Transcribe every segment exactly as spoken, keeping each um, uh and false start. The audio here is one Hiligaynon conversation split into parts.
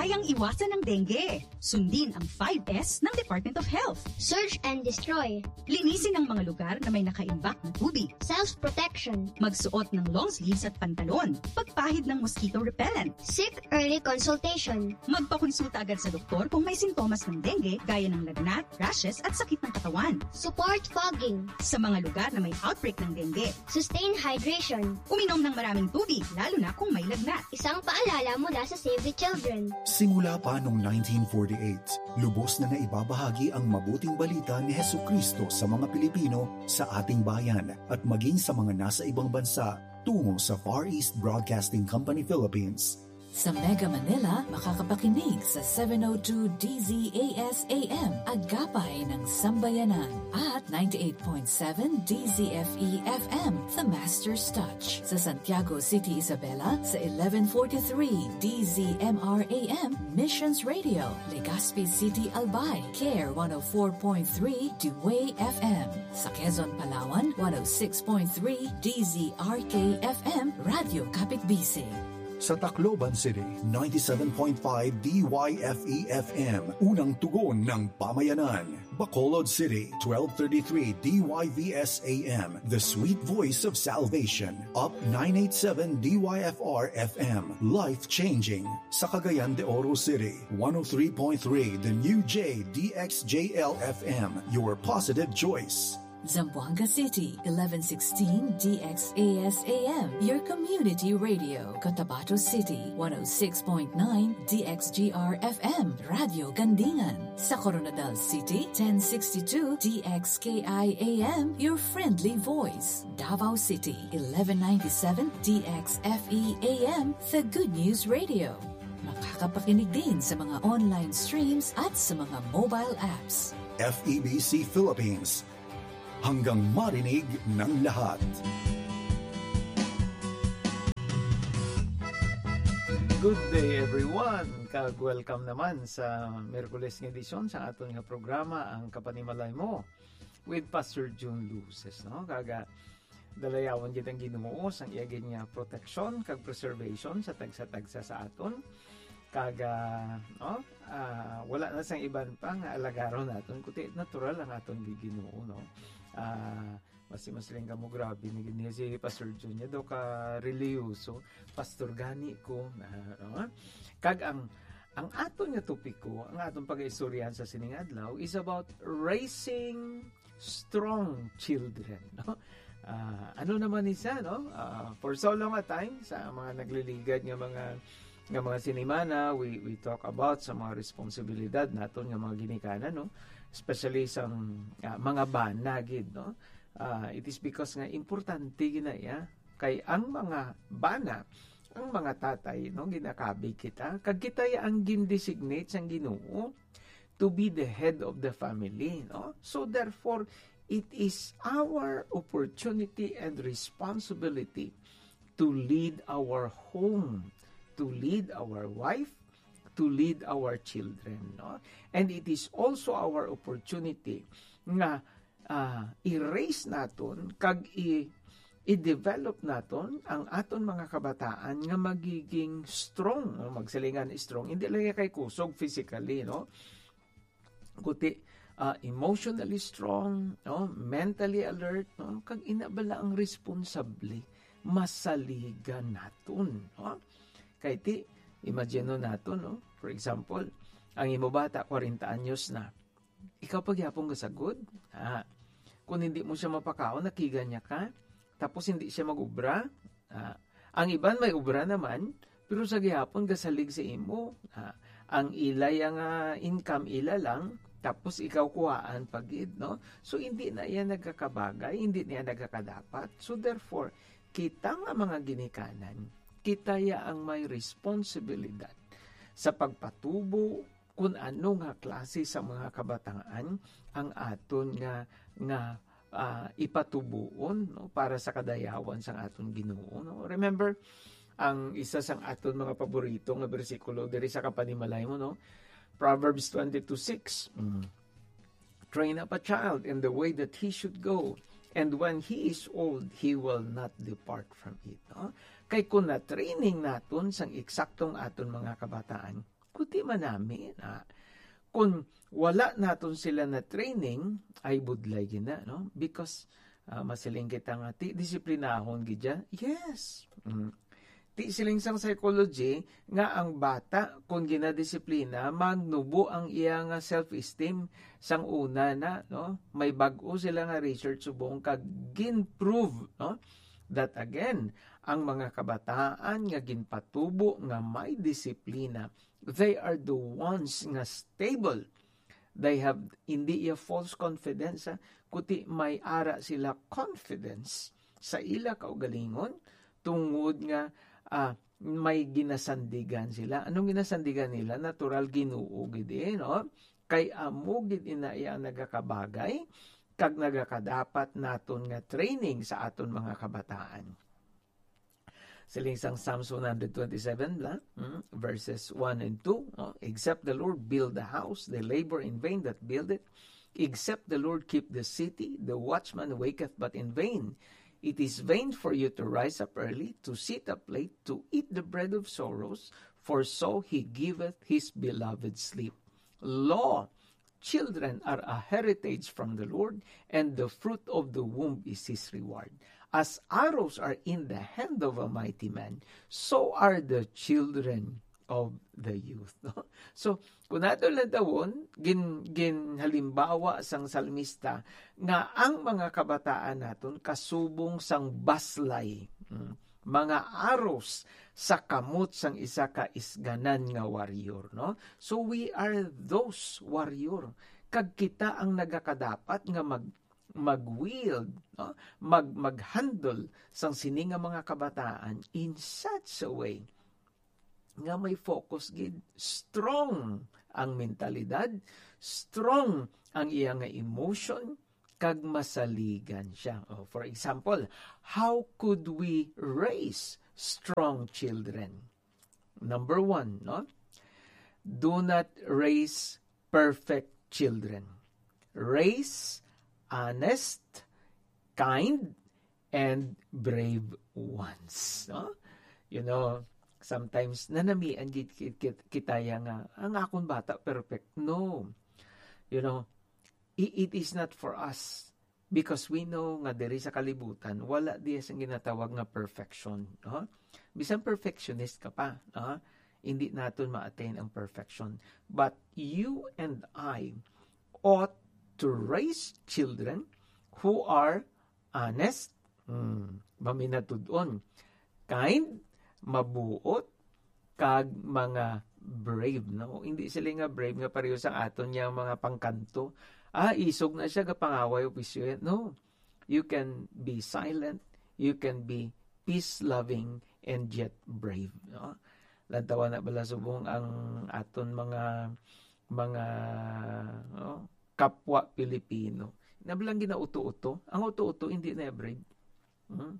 Ang iwasan ng dengue. Sundin ang five S ng Department of Health. Search and destroy. Linisin ang mga lugar na may nakaimbak na tubig. Self-protection. Magsuot ng long sleeves at pantalon. Pagpahid ng mosquito repellent. Seek early consultation. Magpakonsulta agad sa doktor kung may sintomas ng dengue gaya ng lagnat, rashes at sakit ng katawan. Support fogging. Sa mga lugar na may outbreak ng dengue. Sustain hydration. Uminom ng maraming tubig, lalo na kung may lagnat. Isang paalala mula sa Save the Children. Simula pa noong nineteen forty-eight, lubos na naibabahagi ang mabuting balita ni Jesucristo sa mga Pilipino sa ating bayan at maging sa mga nasa ibang bansa tungo sa Far East Broadcasting Company Philippines. Sa Mega Manila, makakapakinig sa seven oh two D Z A S A M, Agapay ng Sambayanan, at ninety-eight point seven D Z F E F M, The Master's Touch. Sa Santiago City, Isabela, sa eleven forty-three D Z M R A M, Missions Radio, Legazpi City, Albay, Care one oh four point three, Dway F M. Sa Quezon, Palawan, one oh six point three D Z R K F M, Radyo Kapitbisig. Sa Tacloban City, ninety-seven point five D Y F E F M, unang tugon ng pamayanan. Bacolod City, twelve thirty-three D Y V S A M, the sweet voice of salvation. Up nine eighty-seven D Y F R F M, life-changing. Sa Cagayan de Oro City, one oh three point three the new J D X J L F M, your positive choice. Zamboanga City, eleven sixteen D X A S A M, your community radio. Cotabato City, one oh six point nine D X G R F M, Radyo Gandingan. Sa Koronadal City, ten sixty-two D X K I A M, your friendly voice. Davao City, eleven ninety-seven D X F E A M, the good news radio. Makakapakinig din sa mga online streams at sa mga mobile apps. F E B C Philippines, hanggang marinig ng lahat. Good day, everyone, kag welcome naman sa Miyerkules nga edisyon sa aton nga programa, Ang Kapanimalay Mo, with Pastor Jun Luces, no? Kaga, dalayawon gid ang Ginoo sang iya gid nga proteksyon kag preservation sa tagsa-tagsa sa aton. Kaga, no? Ah, wala na sang iban pa nga alagaron naton, kundi natural ang aton gi-, Ginoo, no? Ah, mas, mas lang kamo, grabe na gid niya si Pastor Jun, niya daw ka reliyoso, pastor gani ko, ah, no? Kag ang, ang aton nga topiko, ang aton pag-istoryahan sa sining adlaw is about raising strong children, no? Ah, ano naman ni siya, no? Ah, for so long a time, sa mga nagliligad nga mga, nga mga sinimana, we, we talk about sa mga responsibilidad naton nga mga ginikanan, no? Especially sa, ah, mga bana gid, no? Ah, it is because nga importante gid na iya. Kay ang mga bana, ang mga tatay, no, ginakabig kita, kag kita ya ang gin-designate sang Ginoo to be the head of the family, no? So therefore, it is our opportunity and responsibility to lead our home, to lead our wife, to lead our children, no? And it is also our opportunity nga, ah, i-raise naton kag i- i-develop naton ang aton mga kabataan nga magiging strong, no? Magsilingan strong, hindi lang kay kusog physically, no? Kundi, ah, emotionally strong, no? Mentally alert, no? Kag ina bala ang responsable, masaligan naton, no? Kay ti, imagine naton, no? For example, ang imo bata, kwarenta anyos na. Ikaw pa gyapon gasagod? Ah, kung hindi mo siya mapakaon, nakiga niya ka. Tapos hindi siya mag-ubra. Ah, ang iban may ubra naman, pero sa gihapon gasalig sa imo. Ah, ang ila ya nga income ila lang, tapos ikaw kuhaan pa gid, no? So, hindi na iya nagkakabagay, hindi na iya nagkakadapat. So, therefore, kita nga mga ginikanan, kita ya ang may responsibilidad sa pagpatubo kun ano nga klase sa mga kabataan ang aton nga, nga, ah, ipatuboon, no, para sa kadayawan sang aton Ginoo, no? Remember, ang isa sang aton mga paborito nga bersikulo diri sa Kapanimalay Mo, no? Proverbs twenty-two six. Mm. "Train up a child in the way that he should go, and when he is old, he will not depart from it," no? Kay kung na-training naton sang eksaktong aton mga kabataan, Kuti man nami na, kung wala naton sila na training, ay budlay gina, no? Because, ah, masiling kita nga, ti disiplinahon gid siya. Yes. Mm. Ti siling sang psychology nga ang bata, kung ginadisiplina, magnubo ang iya nga self-esteem sang una na, no? May bag-o sila nga research subong kag gin-prove, no? That again, ang mga kabataan nga ginpatubo nga may disiplina, they are the ones nga stable. They have, hindi iya false confidence, ha? Kuti may ara sila confidence sa ila kaugalingon, tungod nga, ah, may ginasandigan sila. Anong ginasandigan nila? Natural, Ginoo gid, eh, no? Kay amo gid ina iya ang nagakabagay kag nagakadapat naton nga training sa aton mga kabataan. Siling sang Psalms one hundred twenty-seven, bla? Hmm? Verses one and two, no? "Except the Lord build the house, they labor in vain that build it. Except the Lord keep the city, the watchman waketh but in vain. It is vain for you to rise up early, to sit up late, to eat the bread of sorrows, for so he giveth his beloved sleep." Lo, children are a heritage from the Lord, and the fruit of the womb is his reward. As arrows are in the hand of a mighty man, so are the children of the youth. So, kung nato lang tawon, gin, ginhalimbawa sang salmista nga ang mga kabataan naton kasubong sang baslay, mm, mga arrows sa kamot sang isa ka isganan nga warrior, no? So, we are those warrior. Kag kita ang nagakadapat nga mag-, mag-wield, no? Mag-, mag-handle sang sini nga mga kabataan in such a way nga may focus gid, strong ang mentalidad, strong ang iya nga emotion, kag masaligan siya. Oh, for example, how could we raise strong children? Number one, no? Do not raise perfect children. Raise honest, kind, and brave ones, no? You know, sometimes nanamian gid kit-, kit-, kita ya nga, "Ang akon bata perfect." No. You know, i-, it is not for us, because we know nga diri sa kalibutan, wala diya sing ginatawag nga perfection, no? Bisan perfectionist ka pa, no? Hindi naton ma-attain ang perfection. But you and I ought to raise children who are honest, hmm, maminatud-on, kind, mabuot, kag mga brave, no? Hindi sila nga brave nga pareho sa aton nga mga pangkanto. Ah, isog na siya, gapangaway o pisyo. No. You can be silent, you can be peace-loving, and yet brave, no? Lantawa na bala subong ang aton mga, mga, no, kapwa Pilipino. Na bala ginauto-uto. Ang uto-uto, hindi na brave. Hmm?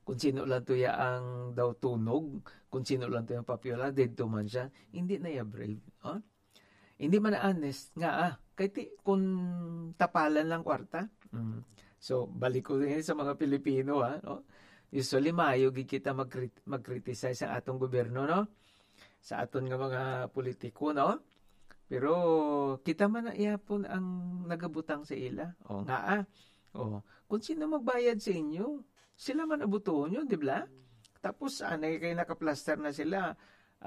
Kung sino lang to ya ang daw tunog, kung sino lang to yung papiola, didto man siya, hindi na ya brave. Oh? Hindi man honest nga, ah, kay ti, kung tapalan lang kwarta. Mm. So, balik ko din sa mga Pilipino, ha, no? Usually, maayo gid kita mag-crit-, mag-criticize sa atong gobyerno, no? Sa aton nga mga politiko, no? Pero kita man na iyapon ang nagabutang sa ila. O, nga, ah. O, kung sino magbayad sa inyo, sila man abutuhon nyo, di ba? Tapos, anay kay nakaplaster na sila,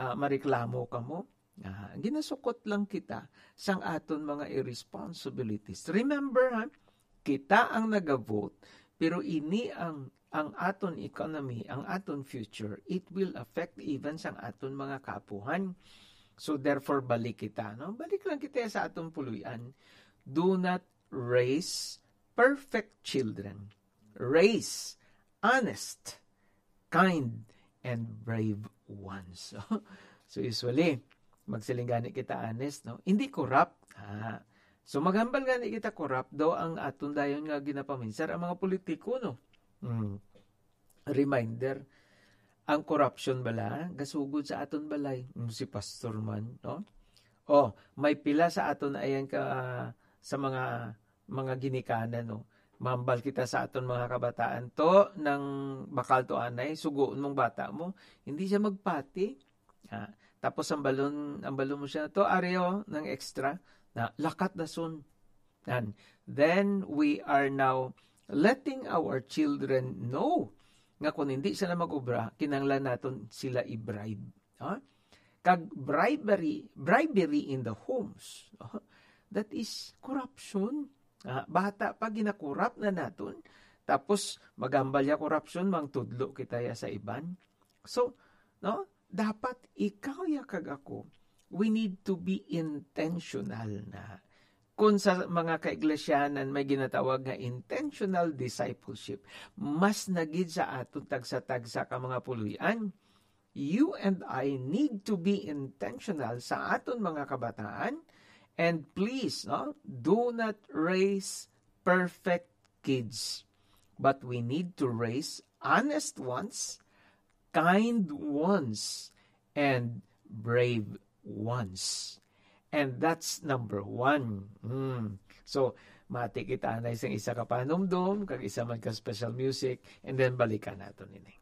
ah, mareklamo kamo. Ah, ginasukot lang kita sang aton mga irresponsibilities. Remember, ha, kita ang nagavote, pero ini ang, ang aton economy, ang aton future, it will affect even sang aton mga kaapuhan. So therefore, balik kita, no? Balik lang kita sa aton puloy-an. Do not raise perfect children. Raise honest, kind, and brave ones. So usually, magsiling gani kita honest, no? Hindi corrupt. Ah. So maghambal gani kita, corrupt daw ang aton dayon nga ginapaminsar ang mga politiko, no? Hmm. Reminder, ang corruption bala gasugod sa aton balay. Hmm, si pastor man, no? Oh, may pila sa aton ayan ka, sa mga, mga ginikanan, no? Mambal kita sa aton mga kabataan, to, nang bakal to anay, sugoon mong bata mo, hindi siya magpati. Ah, tapos ang balon, ang balon mo siya to, areo ng extra, na lakat dason. And then we are now letting our children know nga kung hindi sila mag-obra, kinahanglan naton sila i-bribe. Ha? Kag bribery, bribery in the homes, no? That is corruption. Ah, bata pa, ginakurap na naton. Tapos, magambal ya corruption, mangtudlo kita ya sa iban. So, no? Dapat ikaw ya kag ako, we need to be intentional na. Kung sa mga kaiglesyaan may ginatawag nga intentional discipleship, mas na gid sa aton tagsa-tagsa ka mga puloy-an, you and I need to be intentional sa aton mga kabataan. And please, no, do not raise perfect kids, but we need to raise honest ones, kind ones, and brave ones. And that's number one. Hmm. So, mati kita na isang isa ka panumdom, kag isa man ka special music, and then balikan nato nini.